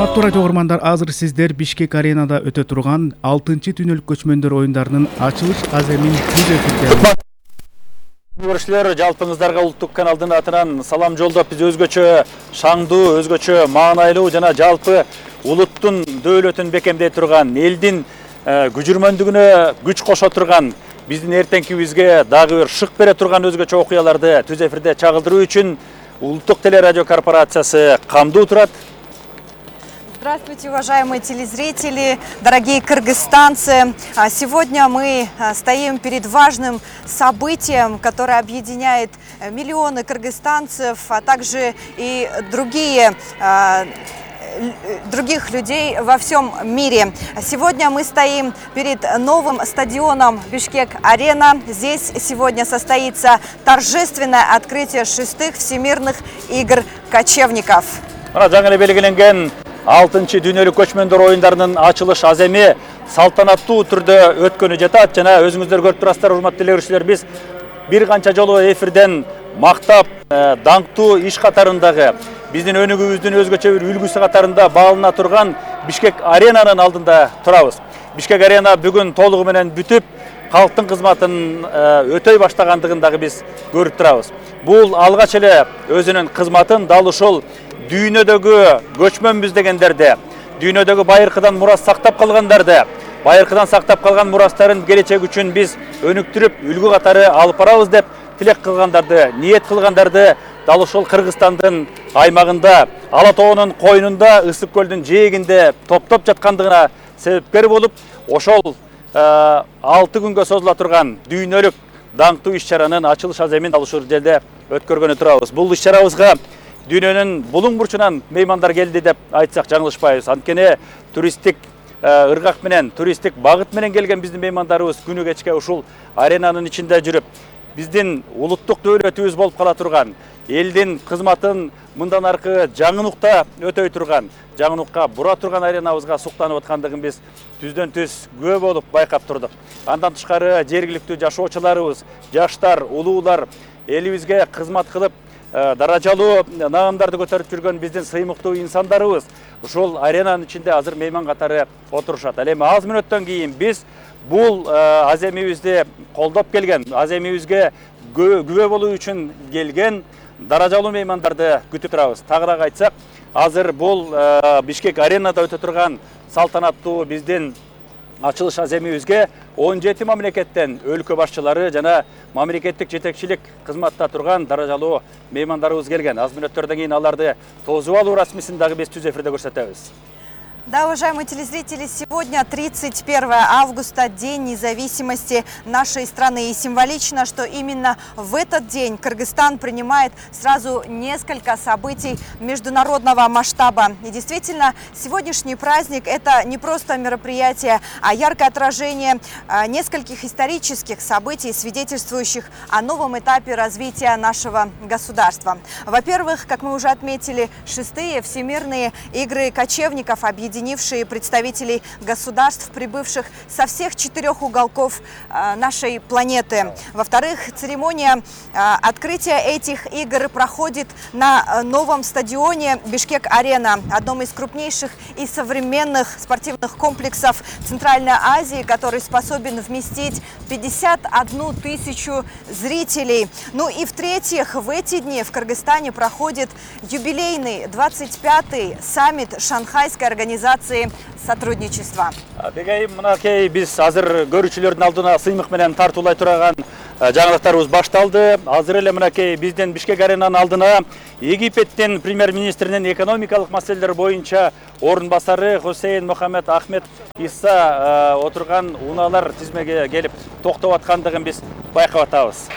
Урматтуу радио угармандар, азыр сиздер Бишкек аренада өтө турган 6-түнөлүк көчмөндөр оюндарынын ачылыш аземин түз эфирде. Көрүүчүлөр, жалпыңыздарга улуттук каналдын атынан салам жолдоп, биз өзгөчө шаңдуу, өзгөчө маанайлуу жана жалпы улуттун дөөлөтүн бекемдей турган, элдин күжүрмөндүгүнө күч кошо турган, биздин эртеңкибизге дагы бир шык бере турган өзгөчө окуяларды түз эфирде чагылдыруу үчүн Улуттук телерадио корпорациясы камдуу турат. Здравствуйте, уважаемые телезрители, дорогие кыргызстанцы. Сегодня мы стоим перед важным событием, которое объединяет миллионы кыргызстанцев, а также и других людей во всем мире. Сегодня мы стоим перед новым стадионом Бишкек-Арена. Здесь сегодня состоится торжественное открытие 6-х всемирных игр кочевников. Жаңы белгиленген 6-дүнөлүк көчмөндөр оюндарынын ачылыш аземи салтанаттуу түрдө өткөнү жатат. Жана өзүңүздөр көрүп турасыздар, урматтуу теле биз бир канча жолу эфирден мактап, даңктуу иш катарындагы биздин өнүгүүбүздүн өзгөчө бир үлгүсү катарында баалына турган Бишкек аренанын алдында турабыз. Бишкек арена бүгүн толугу менен бүтүп, калктын кызматын өтөй баштагандыгын дагы биз көрүп турабыз. Бул алгач эле өзүнүн кызматын дал ушул дүйнөдөгү көчмөнбүз дегендерди, дүйнөдөгү байыркыдан мурас сактап калгандарды, байыркыдан сактап калган мурастарын келечек үчүн биз өнүктүрүп, үлгү катары алып барабыз деп тилек кылгандарды, ниет кылгандарды дал ушул Кыргызстандын аймагында, Ала тоонун койнунда, Ысык көлдүн жээгинде топтоп жаткандыгына себепкер болуп, ошол 6 күнгө созула турган дүйнөлүк даңктуу иш-чаранын ачылыш аземин дал ушул жерде өткөргөнү турабыз. Бул иш-чарабызга дүйнөнүн булуң бурчунан меймандар келди деп айтсак жаңылышпайбыз. Анткени туристтик ыргак менен, туристтик багыт менен келген биздин меймандарыбыз күнү кечке ушул аренанын ичинде жүрүп, биздин улуттук дөөлөтүбүз болуп кала турган, элдин кызматын мындан аркы жаңы нукта өтөй турган, жаңы нукка бура турган аренабызга суктанып аткандыгын биз түздөн түз күбө болуп байкап турдук. Андан тышкары жергиликтүү жашоочуларыбыз, жаштар, улуулар, элибизге кызмат кылып, даражалуу наамдарды көтөрүп жүргөн биздин сыймыктуу инсандарыбыз ушул аренанын ичинде азыр мейман катары отурушат. Ал эми аз мүнөттөн кийин биз бул аземибизди колдоп келген, аземибизге күбө болуу үчүн келген даражалуу меймандарды күтүп турабыз. Тагыраак айтсак, азыр бул Бишкек аренада өтө турган салтанаттуу биздин ачылыш аземибизге 17 мамлекеттен өлкө башчылары жана мамлекеттик жетекчилик кызматта турган даражалуу меймандарыбыз келген. Аз мүнөттөрдөн кийин аларды тосуп алуу расмисин дагы биз түз эфирде көрсөтөбүз. Да, уважаемые телезрители, сегодня 31 августа, День независимости нашей страны. И символично, что именно в этот день Кыргызстан принимает сразу несколько событий международного масштаба. И действительно, сегодняшний праздник – это не просто мероприятие, а яркое отражение нескольких исторических событий, свидетельствующих о новом этапе развития нашего государства. Во-первых, как мы уже отметили, 6-е всемирные игры кочевников, объединившие представителей государств, прибывших со всех 4 уголков нашей планеты. Во-вторых, церемония открытия этих игр проходит на новом стадионе Бишкек-Арена, одном из крупнейших и современных спортивных комплексов Центральной Азии, который способен вместить 51 тысячу зрителей. Ну и в-третьих, в эти дни в Кыргызстане проходит юбилейный 25-й саммит Шанхайской организации сотрудничества. Мынакей биз азыр көрүүчүлөрдүн алдына сыймык менен тартуулай турган жаңылыктарыбыз башталды. Азыр эле мынакей биздин Бишкек аренанын алдына Египеттин премьер-министринин экономикалык маселелер боюнча орун басары Хусейн Мухаммед Ахмед Иса отурган унаалар тизмеге келип токтоп аткандыгын биз байкап атабыз.